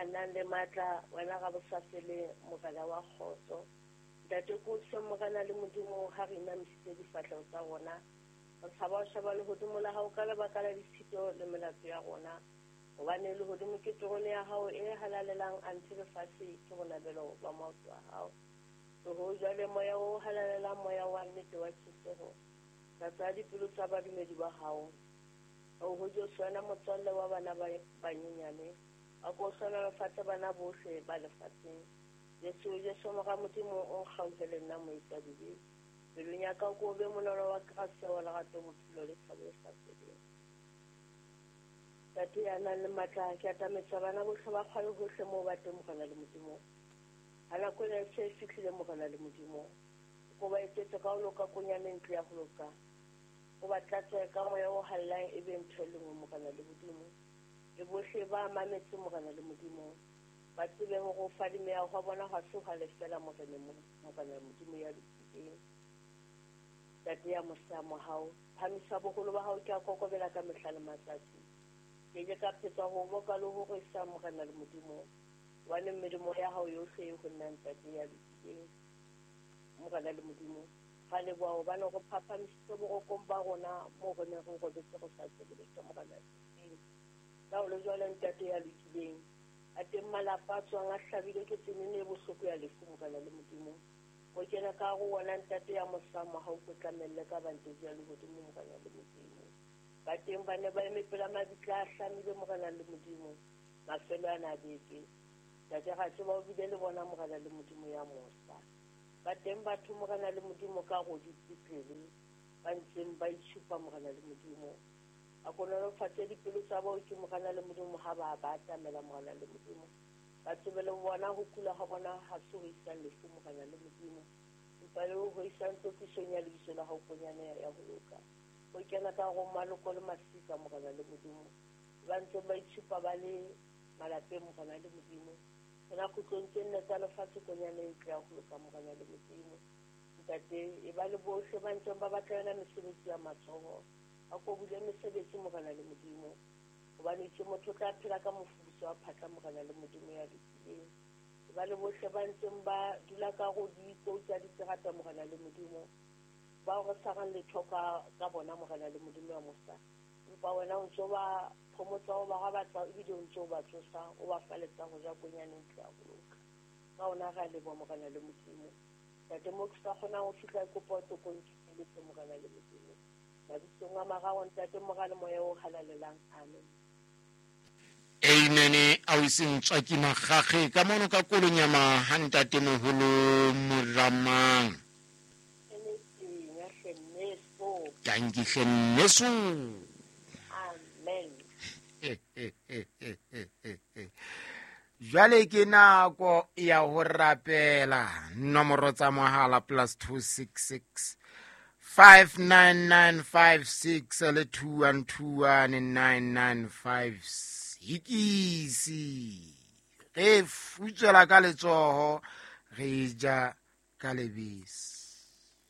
Ya nang le matla, wena Rabosafeleng, Morena wa kgotso. Ntate, ke o hle Morena le Modimo, ha re inamisitse difahleho tsa rona, re tshaba ho sheba lehodimo la hao ka lebaka la ditshito le melato ya rona. Hobane lehodimo ke terone ya hao e halalelang, anthe lefatshe ke bonabelo ba maoto a hao. Tloho jwale, Moya o Halalelang, Moya wa nnete wa tjheseho, tlatsa dipelo tsa badumedi ba hao. Oho Jesu, wena motswalle wa bana ba banyenyane, a ko hlohonolofatse bana bohle ba lefatsheng. Jesu, Jesu Mora Modimo, o nkgauhele nna moetsadibe. Pelong ya ka o ko o be monolo wa grasia, wa lerato, bophelo le thabo e sa feleng. Ntate ya nang le matla, ke atametsa bana bohle ba kgwale hohle moo ba teng, Morena le Modimo. Ha nako ena e se e fihlile, Morena le Modimo, o ko ba etsetse ka ho loka konyane ntlo ya ho loka. O ba tlatse ka Moya o Halalelang e be ntho e le nngwe, Morena le Modimo. Le bohle ba mametse, Morena le Modimo, ba tsebe hore ho fadimeha hwa bona hwa se hwa lefela Moreneng, Morena Modimo ya lokileng. Ntate ya mosa mohau, phamisa boholo ba hao, ke a kokobela ka mehla le matsatsi. Ke ke ka phetsa ho boka le ho rorisa Morena le Modimo, hobane melemo ya hao yohle e ho nna, Ntate ya lokileng. Morena le Modimo, ra leboha hobane o re phaphamisitse borokong ba rona moo re neng re robetse re sa tsebe letho, Morena ya lokileng. Le ha ho le jwalo, Ntate ya lokileng, a teng malapa a tswang a hlabilwe ke tsenene e bohloko ya lefu, Morena le Modimo. O kene ka hare ho wona, Ntate ya mosa, mohau o tlamelle ka banteji ya lehodimo, Morena le Modimo. Ba teng ba ne ba eme pela mabitla a hlamile, Morena le Modimo, mafelo ana a beke. Ntate, ra tseba o bile le bona, Morena le Modimo ya mosa. Ba teng batho, Morena le Modimo, ka hare ho dipetlele, ba ntseng ba itshupa, Morena le Modimo. A ko nolofatse dipelo tsa baoki, Morena le Modimo, ha ba ba atamela, Morena le Modimo. Ba tsebe le bona ho kula ha bona ha se ho isang lefu, Morena le Modimo, empa le ho isang tlotlisong ya lebitso la hao, konyana ya ho loka. Ho kena ka hare ho maloko le masika, Morena le Modimo, ba ntseng ba itshupa ba le malapeng, Morena le Modimo. Kena kgutlong tse nne tsa lefatshe, konyana e ntle ya ho loka, Morena le Modimo. Ntate, e ba le bohle ba ntseng ba batla yona mesebetsi ya matsoho. A ko bule mesebetsi, Morena le Modimo. Hobane itse motho o tla phela ka mofufutso wa phatla, Morena le Modimo ya lokileng. E ba le bohle ba ntseng ba dula ka ho dikou tsa diterata, Morena le Modimo, bao re sa reng letho ka, ka bona, Morena le Modimo ya mosa. Empa wena o ntse o ba phomotsa, o ba rabatsa, ebile o ntse o ba tsosa, o ba faletsa ho ja konyane ntle ya ho loka. Ka hona re a leboha, Morena le Modimo. Ntate, moo ke sa kgonang ho fihla, ke kopa o tlo ko nkenyeletse, Morena le Modimo. Mabitsong a mararo, Ntate, Mora le Moya o Halalelang. Amen. Amen. A o iseng tswaki magage ka mono ka kolonyama ha ntate moholo Moramang. Tanki hle nneso. Amen. Jwale ke nako ya ho rapela. Nomoro tsa mohala plus 266 59956 le 2121995. Ikisi re futswela ka letsoho, re ja ka lebese.